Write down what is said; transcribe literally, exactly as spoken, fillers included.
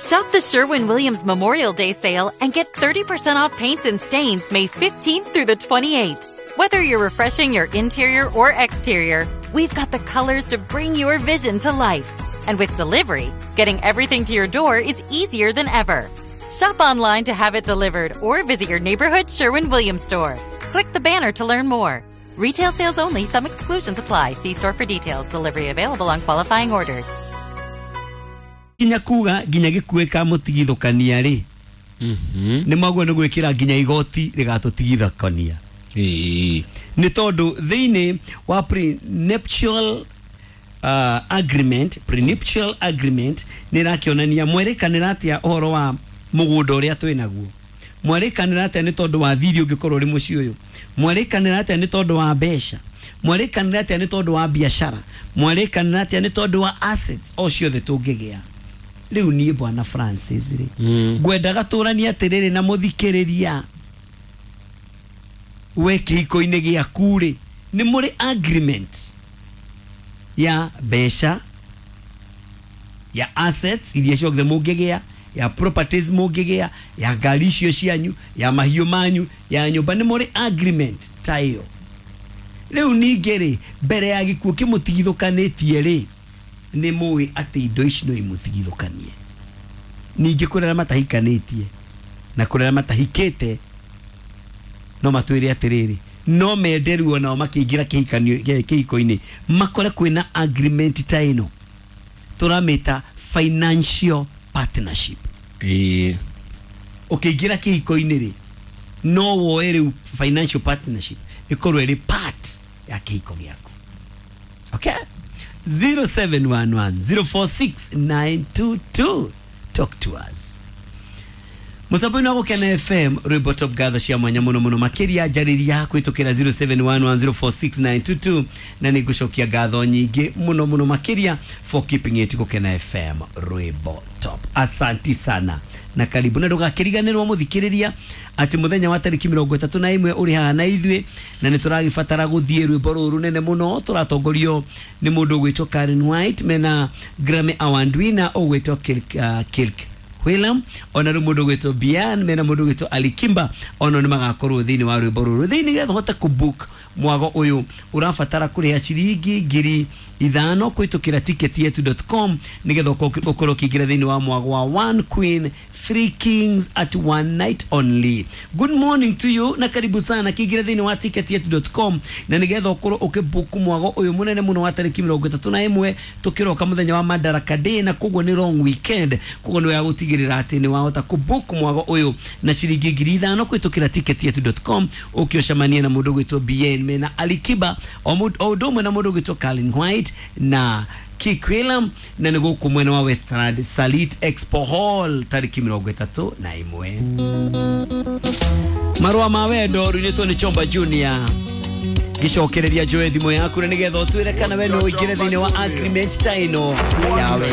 Shop the Sherwin-Williams Memorial Day sale and get thirty percent off paints and stains May fifteenth through the twenty-eighth. Whether you're refreshing your interior or exterior, we've got the colors to bring your vision to life. And with delivery, getting everything to your door is easier than ever. Shop online to have it delivered or visit your neighborhood Sherwin-Williams store. Click the banner to learn more. Retail sales only. Some exclusions apply. See store for details. Delivery available on qualifying orders. Nginya kuga nginya gĩkuĩ kamũtigithũkania rĩ, nĩ maguo nĩ gwĩkĩra nginya igoti rĩgatũtigithũkania. Ĩĩ. Nĩ tondũ thĩinĩ wa prenuptial uh, agreement prenuptial agreement nĩ ĩrakĩonania mwerĩkanĩra atĩa ũhoro wa mũgũnda ũrĩa twĩ naguo, mwerĩkanĩra atĩa nĩ tondũ wa thiri ũngĩkorwo ũrĩ mũciĩ ũyũ, mwerĩkanĩra atĩa nĩ tondũ wa mbeca, mwerĩkanĩra atĩa nĩ tondũ wa biacara, mwerĩkanĩra atĩa nĩ tondũ wa assets o ciothe tũngĩgĩa. Rĩu niĩ bwana Francis rĩ, ngwendaga tũranie atĩrĩrĩ na mũthikĩrĩria, we kĩhiko-inĩ gĩaku rĩ, nĩ mũrĩ agreement ya mbeca, ya assets iria ciothe mũngĩgĩa, ya properties mũngĩgĩa, ya ngari icio cianyu, ya mahiũ manyu, ya nyũmba, nĩ mũrĩ agreement ta ĩyo. Rĩu ningĩ rĩ, mbere ya gĩkuũ kĩmũtigithũkanĩtie rĩ, nĩ mũĩ atĩ indo ici no imũtigithũkanie. Ningĩ kũrĩ arĩa matahikanĩtie na kũrĩ arĩa matahikĩte no matwĩre atĩrĩrĩ, no mende rĩu onao makĩingĩra kĩhikanio kĩhiko-inĩ makore kwĩna agreement ta ĩno tũramĩta financial partnership. Ĩĩ. Ũkĩingĩra kĩhiko-inĩ rĩ, no woe rĩu financial partnership ĩkorwo ĩrĩ part ya kĩhiko gĩaku. Okay? zero seven one one zero four six nine two two. Talk to us. Mũtambo-inĩ wa Gũkena F M, rwĩmbo top gatho cia mwanya mũno mũno makĩria njarĩria kũhĩtũkĩra zero seven one one zero four six nine two two, na nĩ ngũcokia ngatho nyingĩ mũno mũno makĩria for keeping it Gũkena F M rwĩmbo top. Asanti sana na karibu, na ndũgakĩriganĩrwo mũthikĩrĩria atĩ mũthenya wa tarĩki mĩrongo ĩtatũ na ĩmwe ũrĩ haha na ithuĩ, na nĩ tũragĩbatara gũthiĩ rwĩmbo rũrũ rũnene mũno tũratongorio nĩ mũndũ ũgwĩtwo Karen White mena Grammy Award winner ũgwĩtwo Kirk, uh, Kirk Whelan, ona rĩu mũndũ ũgwĩtwo Bian mena mũndũ ũgwĩtwo Alikimba, ona nĩ magakorwo thĩinĩ wa rwĩmbo rũrũ. Thĩinĩ getha ũhote kũbook mwago ũyũ ũrabatara kũrĩha ciringi ngiri ithano kũhĩtũkĩra ticket yetu dot com nĩgetha ũkorwo ũkĩingĩra thĩinĩ wa mwago wa One Queen Three Kings at one night only. Good morning to you na karibu sana kĩingĩra thĩinĩ wa ticket yetu dot com na nĩgetha ũkorwo ũkĩbook mwago ũyũ mũnene mũno wa tarĩki mĩrongo ĩtatũ na ĩmwe tũkĩroka mũthenya wa Madaraka Day, na koguo nĩ long weekend, koguo nĩ wega gũtigĩrĩra atĩ nĩ wahota kũbook mwago ũyũ na ciringi ngiri ithano kũhĩtũkĩra ticket yetu dot com ũkĩũcemania na mũndũ ũgwĩtwo B N mena Alikiba o ũndũ ũmwe na mũndũ ũgwĩtwo Karen White na Kirk Whelan, na nĩ gũkũ mwena wa Westland Salit Expo Hall tarĩki mĩrongo ĩtatũ na ĩmwe. Marũa ma wendo rũinĩtwo nĩ Chomba Junior. Gĩcokereria njoe thimũ yaku na nĩgetha ũtwĩre kana we no ũingĩre thĩinĩ wa agreement ta ĩno yawe.